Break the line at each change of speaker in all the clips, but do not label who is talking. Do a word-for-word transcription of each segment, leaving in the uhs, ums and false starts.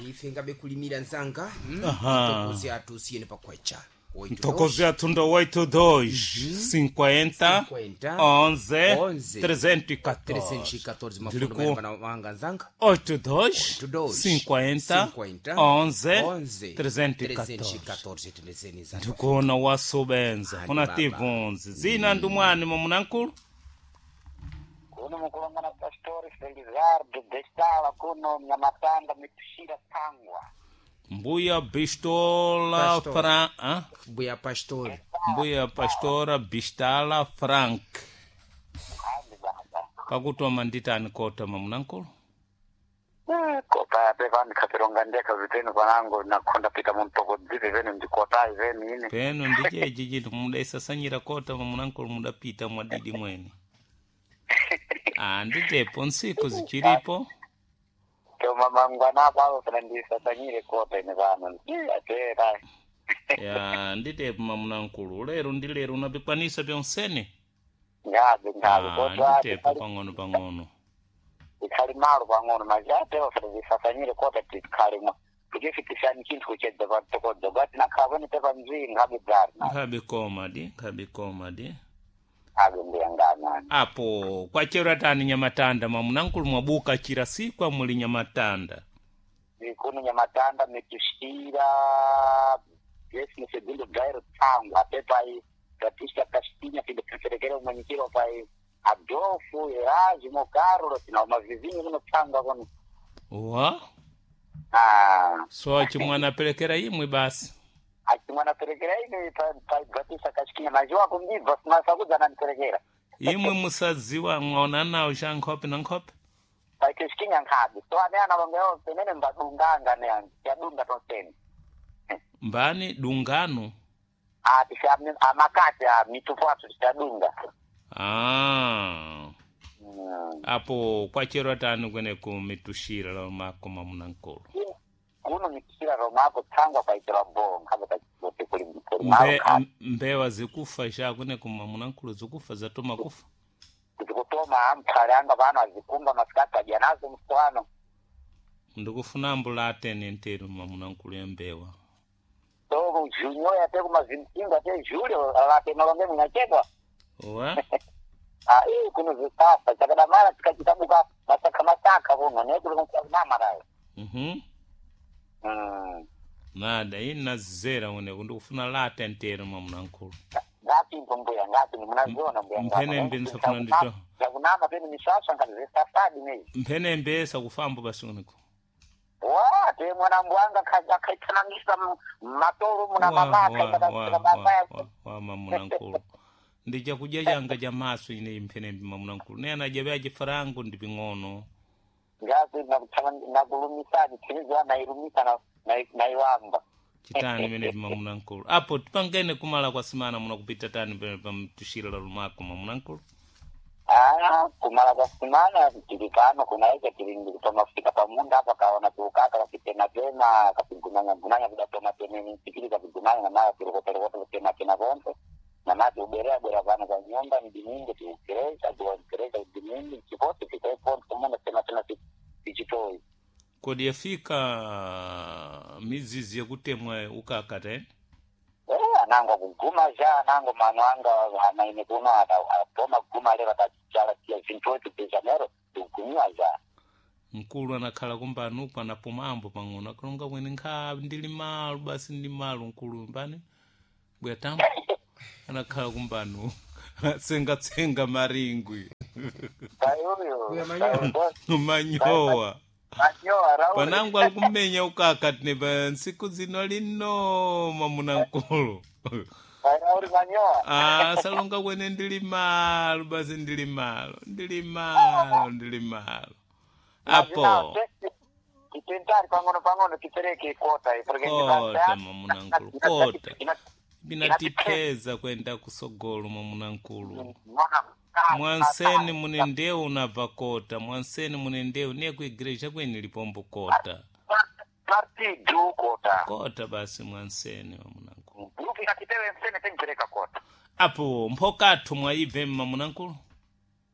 Ife ngabe kulimira nzanga, hmm?
Aham.
Mtokozi athu usiyene pakwecha. Oito
Mtokozi
dois,
athu ndo oito dois cinquenta
cinquenta,
onze
onze,
trezentos e quatorze.
trezentos e catorze. Mafundo
Ndiliku
mayambana wanga nzanga.
oito dois
oito dois
cinquenta
cinquenta
onze
onze
trezentos e quatorze.
trezentos e catorze. Tendezeni zanga.
Ndikuona wasubenza
Ani
kuna
baba.
tivunzi zina ndumwani mamunankulu.
Kuno mukulongana Pastori Felizardo Bestala kuno Mnyamatanda mitushira Tangwa.
Mbuya Bistola.
Pastor.
Fran ah?
Mbuya Pastor.
Mbuya Pastora Bistala Frank.
Andi baba.
Pakutoma nditani kota mamunankulu?
Kota ate vani kapironga ndeka vitenu vanangu nakonda pita muntokodzive venu ndikotai venu ine.
Peno ndichechi chinthu mudaisasanyira kota mamunankulu, mudapita mwadidi mwene. Ah, nditepo ntsiku zichilipo.
Toma mangwana pavo kana ndisasanyire kota ine vano. Atera.
Ya, nditepo mamunankulu, lero ndi lero unapikwanisa pyonsene.
Ngabe ngabe
Ah,
kota
nditepo pang'ono pang'ono.
Ikhali malo pang'ono maji atero kana ndisasanyire kota tikhali mwa. Kuchifikisani chinthu kuchedza patokodza bati nakhavone tepa mzii nkhabe dzari na.
Nkhabe koma di, nkhabe koma di.
Abe ndiyangana.
Apo kwachera tani Nyamatanda mamunankulu, mwabuka chira sikwa muli Nyamatanda?
Kuno Nyamatanda mitushira décimo segundo gairo Tsangwa até pai Batista Castinha filho perekera umanyikiro pai Adolfo Erasmo Carlos na mavizinho kuno Tsangwa kuno.
Wa
Ah.
So chimwana aperekera imwe basi.
Achimwana perekera ine pai pai Batista Castinha majiwa kundibva simasakudzana naniperekera.
Imwe musadziwa mwaona nawo cha nkhope na nkhope.
Pai Castinha nkhabe so ane ana vangeyo penene mbadunganga ne yadunga tonseni.
Mbani dungano?
Ah, tisi amakati a mitupo athu tichadunga.
Ah.
Mm.
Apo kwachera tani kweneku mitushira la mako mamunankulu?
Kuno mitushira romako Tsangwa kwaitira bo nkhabe kachikote kuli kuli
Mbe,
malo khabe.
Mbewa zikufa cha kweneku mamunankulu, zikufa zatoma kufa?
Zikutoma amphale anga pano azikumba masikati adya nazo mswano.
Ndikufuna mbulate nteru mamunankulu ya mbewa.
So junyo yate kumazimtinga te julio late malonge munachedwa.
Wa
Ah, ii kuno zikafa chakadamala tikachitabuka masakha masakha kuno nekuli kunamarayo.
mhm
Mm.
Nada ina zera uneku ndikufuna late nteru mamunankulu.
Ngati impo mbuya ngati munaziona mbuya.
Mphenembe nsafuna ndito.
Zakunama pene misasa ngati zisafadi mezi.
Mphenembe sakufambo basi uneku.
Wa te mwana mbwanga akhaithanangisa matolo muna mamaka
wa, wa, wa mamunankulu, ndi chakudya changa cha maso ine mphenembe mamunankulu, ne anadya vya chifarango ndi ping'ono.
Ngazi nakulumisani tiniziwa nailumisa naiwamba.
Chitani pene mamunankulu, apo tipangene kumala kwa simana munakupita tani pene pamtushira la lumako mamunankulu?
Ah, kumala kwa simana tili pano kunaika tili ndikutomafika pamunda apa kaona tiukaka kapitenatena kapigunanya kudatoma teneni tikili kapigunanya namaya tilokotelokota kutenatena konse namati uberea bwera pano kwa nyumba mdimingi tiukereza tiwakereza mdimingi chipoti tikaeponto kumunda tenatena tichitoi.
Kodi yafika mizizi yakutemwa ukaka tene?
Eh, anango kuguma ja anango mano anga anaine kuno atoma kuguma lero atachala tia vinthu de janeiro tikugumiwa ja.
Mkulu anakhala kumbanuko anapumambo pang'ono akalonga mwene nkha ndili malo basi ndi malo mkulu mbani bwatamba anakhala kumbanu tsengatsenga maringwi.
Kayuyo.
Uya manyowa.
Manyowa.
Manyowa rauli.
Panangu ali kumenya ukaka tine pa ntsiku zino lino mamunankulu.
Rauli manyowa.
Ah, salonga kwene ndili malo basi ndili malo ndili malo ndili malo apo.
Titentari pang'ono pang'ono tipereke kota porque
Kota mamunankulu, kota binatipeza kwenda kusogolo mamunankulu. Mwanseni mune ndeu unabva kota, mwanseni mune ndeu niye kuigreja kweni lipombo kota.
Partidu kota.
Kota basi mwanseni mamunankulu.
Grupu inatitewe msene tengipereka kota.
Apo mphokathu mwaibve mamunankulu?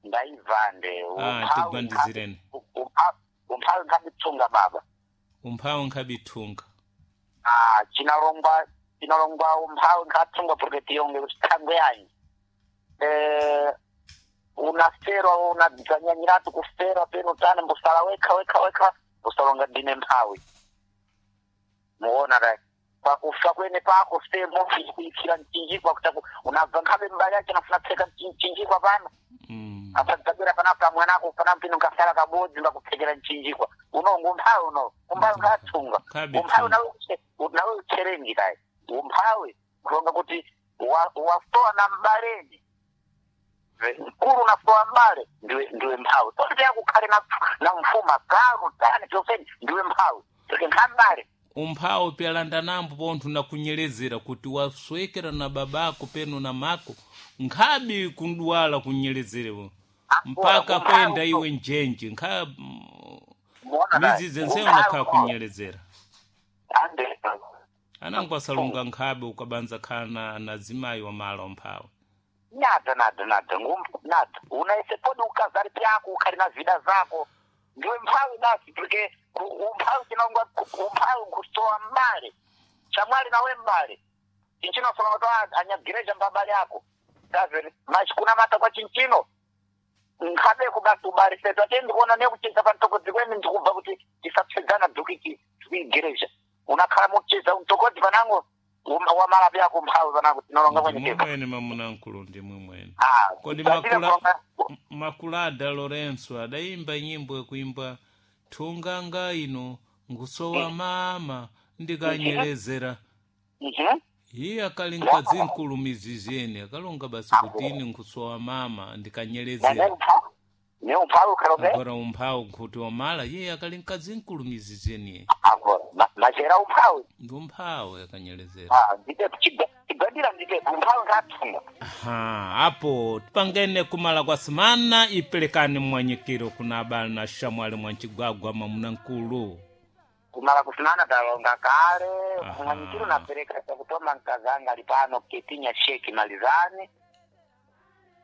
Ndaivande.
Ah, tigwandizireni.
Umphawi nkhabitsunga baba.
Umphawi nkhabithunga.
Ah, chinalongwa chinalongwa umphawi nkhathunga porque tiyonge kuti thangwe yanyi eh unaferwa unadzanyanyiratu kuferwa peno tani mbusala wekha wekha wekha usalonga ndine mphawi muona dai pakufa kwene pako semo kuikira mchinjikwa kutaku unabva nkhabe mbali yacho nafuna tseka mchinjikwa pano
Mm.
asadzabwera panapa mwanako panampino nkasala kabodzi mbakupfekera mchinjikwa uno ngumphawi uno umphawi nkhathunga
Nkhabe
umphawi
thunga.
nawe uche- nawe ucherengi kayi umphawi kulonga kuti wa- wasowa na mbaleni mkulu unasowa mbale ndiwe ndiwe mphawi poti yakukhale na na mfuma galu tani choseni ndiwe mphawi tike nkhambale
Umphawi pyalanda nambo pontho nakunyelezera kuti waswekera na babako peno na mako nkhabi kudwala kunyelezerewo mpaka
umphawi
kwenda
uno.
iwe njenje nkha
Muona kayi.
mizizi nseyo
Umphawi
nakhala
uno.
kunyelezera
Ande.
anango asalunga nkhabe ukabanza khala na, na zimayi wamala umphawi.
Nada nada nada ngum nada unaise podi ukazari pyako ukhali na vida zako ndiwe mphawi basi porque ku- umphawi chinongwa umphawi nkusowa mbale chamwali nawe mbale chinchino solonga to anyagireja mbabale ako kazeri machikunamata kwa chinchino nkhabeko basi ubarisetu ate ndikuona nekucheza pantokodzi kwene ndikubva kuti tisapsedzana dhuki igereja unakhala mucheza mtokodzi panango um- wamala pyako mphawi panango tinolonga
Ndimwe
kwenekepa
mwene mamunankulu ndimwe mwene.
Ah,
Kodi
tatile
makula
kulonga
M- makulada Lorenzo adayimba nyimbo yakuimba thunganga ino ngusowa mama ndikanyelezera.
Mhm.
Iye akali mkadzinkulu mizizi ene akalonga basi kuti ine nkusowa mama
Na
ndikanyelezera.
ne umphawi ne umphawi ukhalobe
Agora umphawi nkhuti wamala iye akali mkadzinkulu mizizi eniye
agora ma- machera umphawi
ndi umphawi akanyelezera.
Ah, ndite chigandira ndite umphawi nkathunga
Aha, apo tipangene kumala kwa simana ipelekani mwanyikiro kuna abale na shamwali mwancigwagwa mamunankulu.
Kumala kusinana talonga kale
Aha.
kumwanyikiro napereka chakutoma nkazanga ali pano ketinya sheki malizani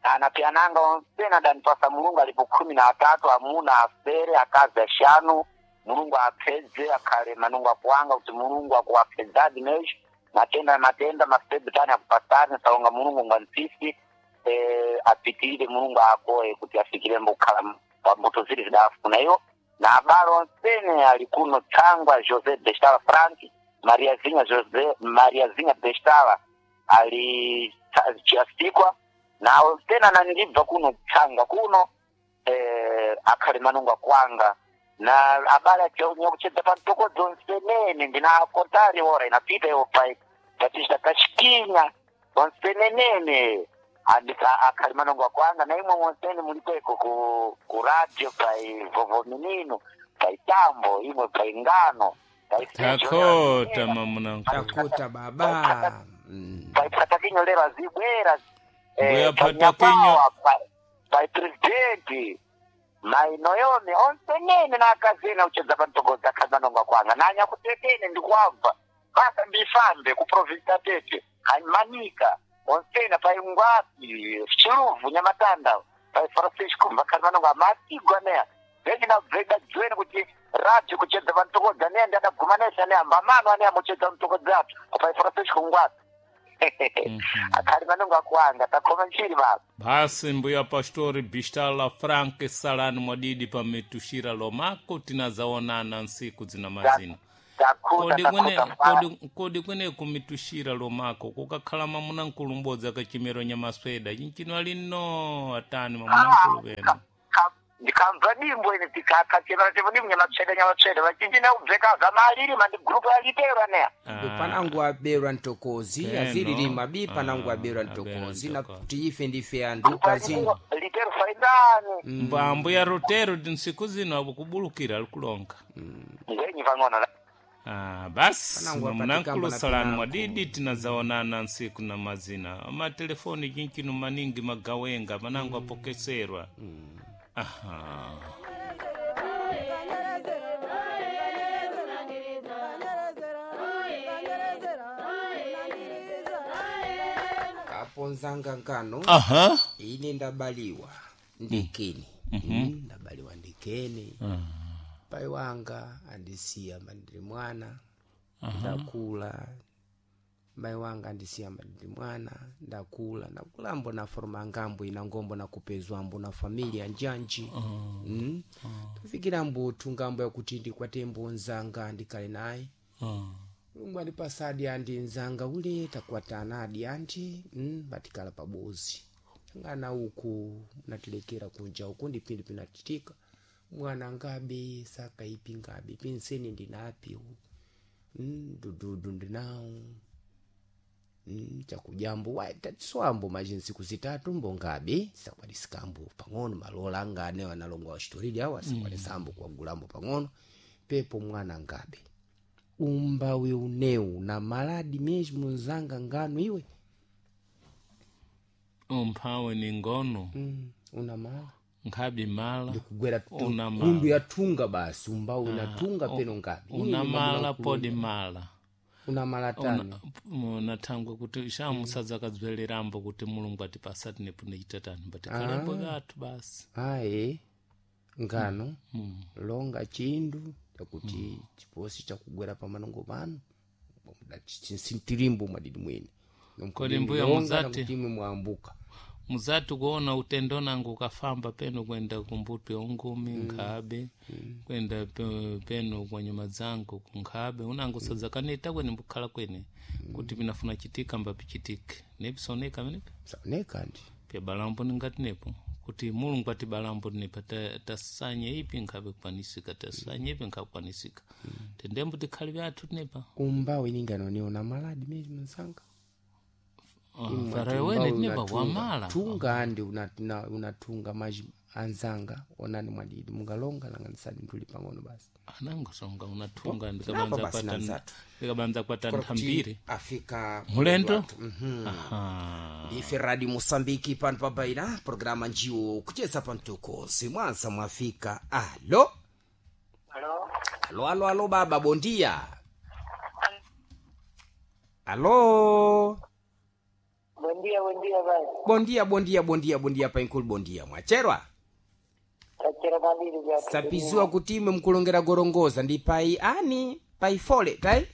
anapiananga onsena danipasa mulungu alipo khumi na atatu amuna afere akazi ashanu mulungu apfedze akhale manungu akuwanga kuti mulungu akuwapfedzadi mesho matenda matenda mafebutani akupasani salonga mulungu ngantsisi eh, apitirire mulungu akoye kuti afikirembo kukhala pambuto zili zidafuna iyo na abale onsene ali kuno tsangwa José Bestala Frank Maria Zinha José Maria Zinha Bestala ali chiasikwa na onsene anandibva kuno tsangwa kuno eh, akhale manungu akwanga na abale achonya kuchedza pamtokodzo onsenene ndinakontari ora inapita iyo pai tatista kachikinya onsenenene andika akhali manungu akwanga na imwe monsene mulikweko ku, ku radio pai vovominino pai tambo imwe pai ngano pai
Takota mamunankulu.
Takuta baba. Mm.
pai patakinyo lero azibwera
Mbuya
eh,
Patakinyo.
pai, pai presidenti mainoyome onsenene nakazena uchedza pantokodza kazanonga kwanga nanyakutetene ndikuabva basa ndifambe kuprovinsi tete manika onsena pai ngwapi chiluvu nyamatanda pai Francisco makazanonga matigwa neya vechinabveda dzweni kuti radio kuchedza pantokodza neya ndadagumanesa neya mbamano aneya muchedza mutokodza apo pai Francisco ngwapi akhali manonga kwanga takhoma nchiri baba.
Basi mbuya pastori Bistala Frank salani mwadidi pametushira lomako tinazaonana nsiku zina mazina.
Takuta
Kodi kwene
takuta fara
kodi, kodi kwene kumitushira lomako kukakhala mamunankulu mbodzi akachimero nyamasweda chinchino ali no atani mamunankulu peno.
Ndikamva dimbo ine tikakachemera chemo dimbo nyamatsveda nyamatsveda vachinji naubveka zvamaliri mandi gurupu yalitero neya.
Panangu aberwa ntokozi
Peno.
azililima bi panangu
Ah,
aberwa
aberwa
ntokozi na
ntokozi.
kuti ife ndife andu kazi
Litero faindani
Mba mbuya Rotero nsiku zino akubulukira alikulonga.
ngenyi pang'ono.
Ah, basi
Panangu
mamunankulu
apatikamba na
salani
pinango.
mwadidi tinazaonana nsiku na mazina amatelefoni chinchino maningi magawenga manangu apokeserwa. Aha.
Kaponzanga nkano
Aha.
ine ndabaliwa ndikeni. Mm, ndabaliwa ndikeni. Pai wanga andisiya mandiri mwana ndakula. Mai wanga andisiya mandiri mwana ndakula, ndakulambo na forma ngambo ina ngombo nakupezwambo na familia njanji. Mm. Tufikirambo tungambo yakuti ndikwatembo nzanga ndikale naye.
Ah.
Mulungu andipasadi andi nzanga ule takwatana adi anti mm, batikala pabozi ngana uku natilekera kunja uku ndi pindi pinatitika mwana ngabe sakaipi ngabe pinseni ndinapi mm, dududu ndinawo mm, chakujambo tatiswambo majinsiku zitatu mbo ngabe sakwadisikambo pang'ono malola anga anewo analongo achitoridi awo asakwadisambo kuwagulambo pang'ono pepo mwana ngabe umbawi uneu na maladi mesmo nzanga ngano iwe.
Umphawe ni ngono.
Mm, una mala
nkhabi mala
ndikugwera tu-
Una mala.
kundu yatunga basi umbawi unatunga peno ngabe
una mala podi mala
una mala tani.
Nathangwe kuti shamusadza akadzwelerambo kuti Mulungu atipasa tinepo nichitatani mbatikalembo gathu basi.
Aye ngano longa chindu chakuti chiposi chakugwera pamanongo pano sintilimbo mwadidi mwene.
Kodi mbuya muzati?
Nakuti imwe mwambuka.
Muzati kuona utendo nangu ukafamba peno kwenda kumbuto ya ungumi nkhabe kwenda pe- peno kwa nyuma zangu kunkhabe unangu sadzakanita kwene mbukhala kwene kuti pinafuna chitika mbapichitike nepisoneka menepe.
Saoneka ndi
Pya balambo ningati nepo kuti Mulungu ati balambo nepa ta- tasanye ipi nkhabe kukwanisika tasanye ipi nkhabe kukwanisika tendembo tikhale byathu tinepa.
Umbawi ninganoni una maladi mesmo nsanga.
Farawe wene tinepa wamala.
Tunga andi unatunga una unatunga maji anzanga onani mwadidi mungalonga langanisani nduli pang'ono basi.
Anangosonga unatunga
Napa
ndikabanza
basi
kwata
nanzatu.
ndikabanza kwata nthambiri
Afika
mulendo.
Mhm.
Aha.
Ife Radio Mosambiki pano pabaina programa njiwo kucheza pamtuko simwansa mwafika. Alo.
Alo.
Alo, alo, alo baba bondia. Alo.
Buen dia, buen dia, bai.
Bondia, bondia, bondia, bondia painkulu bondia mwacherwa.
Tachera mandiri vyathu.
Sapiziwa kuti imwe mkulongera gorongoza ndi pai ani pai fole tai.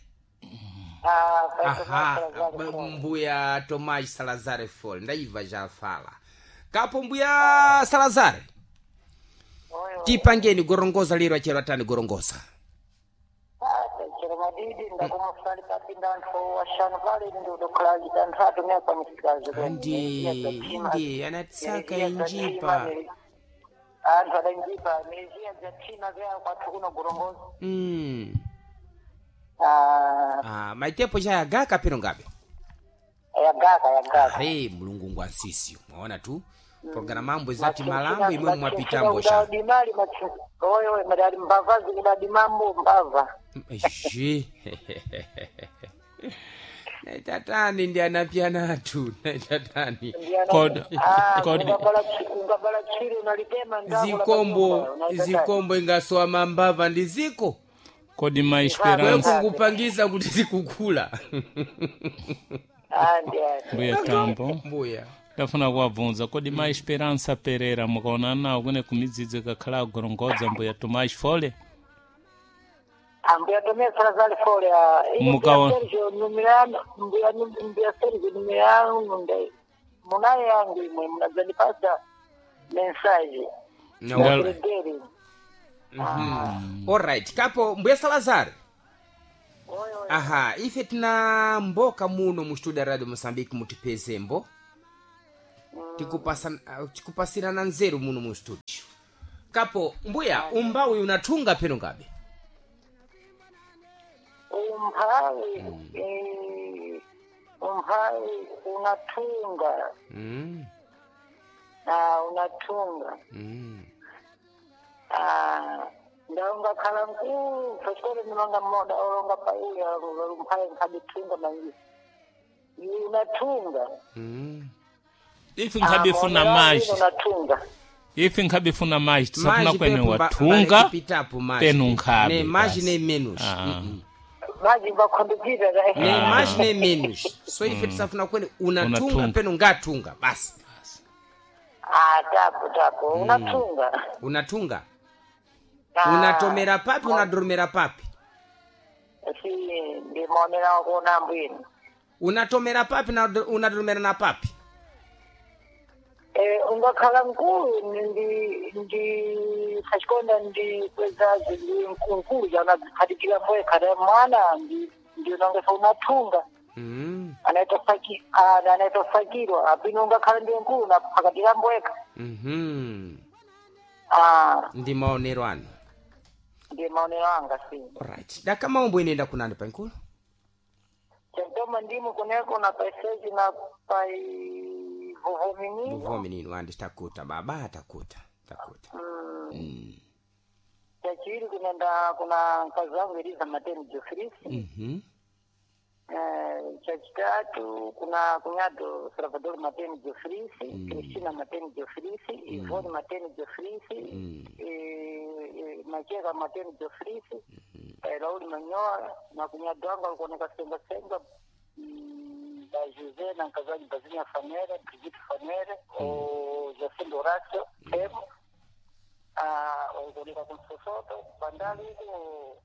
Ah, pai
Aha,
Tomás Salazar
b-
Fole.
mbuya Tomás Salazar Fole ndaiva jafala kapo mbuya Salazar.
Oyo.
Tipangeni gorongoza lero achero tani gorongoza.
Ah, tachera madidi ndakumafali papinda anthu ashanu pale ndi udokhala anthu atumia kwa misikazi.
Andi ndi anatsaka injipa.
Anthu adanjipa miziya dzathima vya kwathu kuno gorongoza.
Mm.
Ah,
Ah, maitepo chayagaka pino ngabe.
yagaka yagaka.
Are mulungu ngwansisi mwaona tu programa mambo zati malambo imwe mwapitambo sha.
Udadimali oyo madali mbava zikudadi mambo mbava.
Shi. Naitatani ndi anapyanatu naitatani.
Kod- kod-
ungabala tchire unalitema ndako la
Zikombo
panyumba, unaitatani.
zikombo ingasowa mambava ndi ziko.
Kodi ma
Wewe
Esperança
kukupangisa kuti zikukula.
Andi andi.
mbuya tambo
Mbuya.
ndafuna kuwabvunza kodi ma Esperança Pereira mukaona nawo kune kumidzidzi kakhala agorongoza mbuya Tomás Fole.
Ambuya Tomé Salazar Fole ah, ine
Mukawa-
mbuya Sergio numirano mbuya mbuya Sergio numirano nde munaye yangu imwe munadzandipasa mensage.
Ndal-
Gregeri.
Alright, kapo mbuya Salazar.
Oyo oyo.
Aha, ife tina mboka muno mu studio ya Radio Mozambique mutipezembo. Tikupasa tikupasirana nzeru muno mu studio. Kapo mbuya umbawi unatunga peno ngabe.
Umphawi eh, umphawi unatunga.
Mm.
Ah, unatunga.
Mm.
Ah, ndaungakhala mkulu pachikolo ndimanga mmoda olonga paiya umphawi nkhabitunga manji unatunga.
Mm.
Ife nkhabifuna maji
unatunga.
ife nkhabifuna maji tisafuna
Maji
kwene
pepo ba-
watunga
bale kupitapo maji.
penu nkhabe
Ne maji
basi.
ne menos.
Ah.
Mm
maji vakhondopita
-mm. Ne maji ne menos. So ife tisafuna kwene unatunga
Unatunga.
peno ngatunga basi.
Ah, tapo tapo unatunga.
Unatunga.
Ah,
Unatomera papi unadoromera papi?
Si ndimaonera kuona mbwino.
Unatomera papi na unadoromera na papi?
Eh, ungakhala mkulu ndi ndi sachikonda ndi kwezazi ndi mkulu janadziphatikira mboye khata mwana ndi ndi unongesa unathunga
Mm.
anaita faki ah, anaita fakirwa apino ungakhala ndiwe mkulu naphakatira mbweka
Mhm.
ah
Ndi maonero anu.
ndi maonero anga si
Alright. Daka maombo inenda kunani pankulu?
chantoma ndimu kuneko na paiseji na pai vovominino
Vovô menino andi takuta baba takuta takuta.
mm.
Mm.
chachiri kunenda kuna mkazi wangu Eliza Mateni Jofrisi
Mhm.
Eh, chachitatu kuna kunyado Salvador Mateni Jofrisi
Mm.
Cristina Mateni Jofrisi Ivone Mateni Jofrisi
Mm.
eh, eh, Macheka Mateni Jofrisi eh, Raul Manyoa na kunyado wangu alikuoneka senga senga mm, ba Jose na mkazi wangu Bazinya Fanere Brigitte Fanere o Jacinto Horacio Temo ah, walikuoneka kumsosoto bandali huku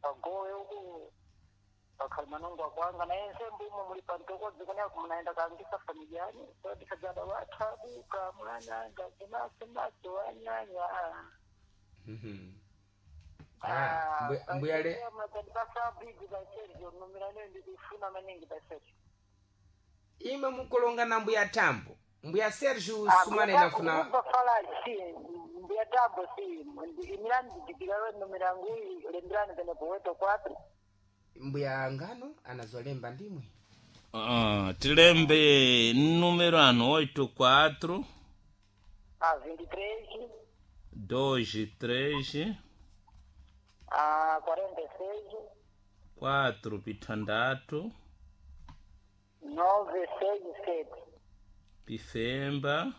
pagowe huku pakalimanongo akwanga naye nsembu umo muli pantokodzi kuneko munaenda kaangisa familiani sodikadzada wathabuka mwananga cimaso wanyanya
Mhm. Ah, mbuya- mbuya le
pasabidi pasergio numirane ndikufuna maningi pasergio
imwe mukulonga na mbuya tambo. Mbuya Sergio sumane nafuna
fala si mbuya tambo si imirani ndidikirawe numirangu lemberani penepo weto kwatro
mbuya ngano anazolemba ndimwe.
Ah, tilembe número ano oito quatro
a vinte e três
dois três
a quarenta e seis
quatro pitandatu
nove seis sete
pifemba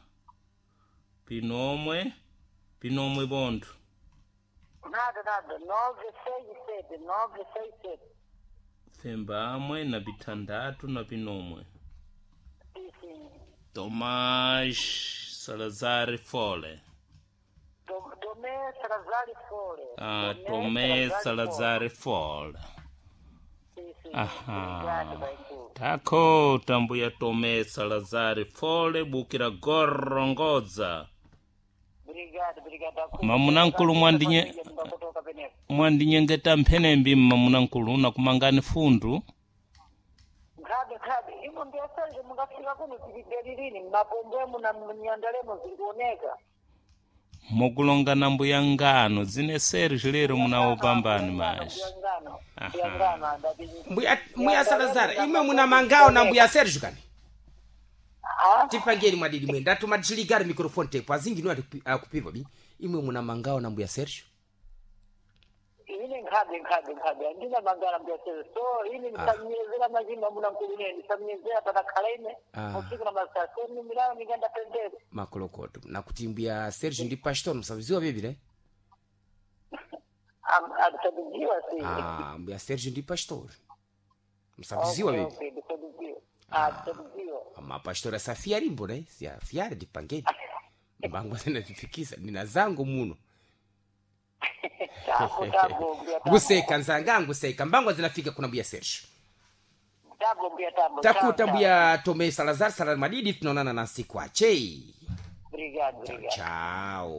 pinomwe pinomwe bontho
Nada, nada. Nove seis sete, nove seis sete.
fembamwe na pitandatu na pinomwe
Sim, sim.
Tomás Salazar Fole.
Tom- Tomé Salazar Fole.
Ah, Tomé Salazar Fole.
Sim, sim.
Aha.
Obrigado, Baitu.
Takota mbuya Tomé Salazar Fole bukira gorongoza.
Obrigado, obrigado.
Mamunankulu mwandinye
Kutoka penepo.
mwandinyengeta mphenembi mmamunankulu nakumangani fundu.
Nkhabe, nkhabe. Imo ndiyasanje mungafika kuno tilidelilini mapombwemo na mnyandalemo zilikuoneka.
Mukulonga na mbuya ngano zine Sergio lero munawopambani maji.
Ngano.
Aha.
Ngano andati.
Mbuya mbuya Salazar imwe muna mangao na mbuya Sergio kani?
Ah,
Tipangeni mwadidi mwe ndatuma tiligari microphone tape azingi niwo akupiva bi. Imwe muna mangao na mbuya Sergio.
ine nkhabe nkhabe nkhabe andina mangala mbuyaseze so ine ndisamnyezera machimba muna nkulune ndisamnyezera patakhala ine
Ah.
usiku na masasa numirao ningenda pendere
Makolokoto. Nakuti mbuya Sergio ndi pastor msaviziwa bibi ne?
adisabiziwa si
Ah, mbuya Sergio ndi pastor. Msaviziwa
Okay,
bibi.
okay, ndisabiziwa adisabiziwa
Mapastor asafia limbo ne? Sia fiari dipangeni. Mbango zinatifikisa nina zangu muno.
tabo tabo mbuya tabo
Nguseka nzanga nguseka mbango zinafika kuna mbuya Sergio.
tabo mbuya tabo
Takuta
Tchau, tchau.
mbuya Tomé Salazar Salazar Madidi tunaonana na siku achei.
obrigado obrigado
Chao.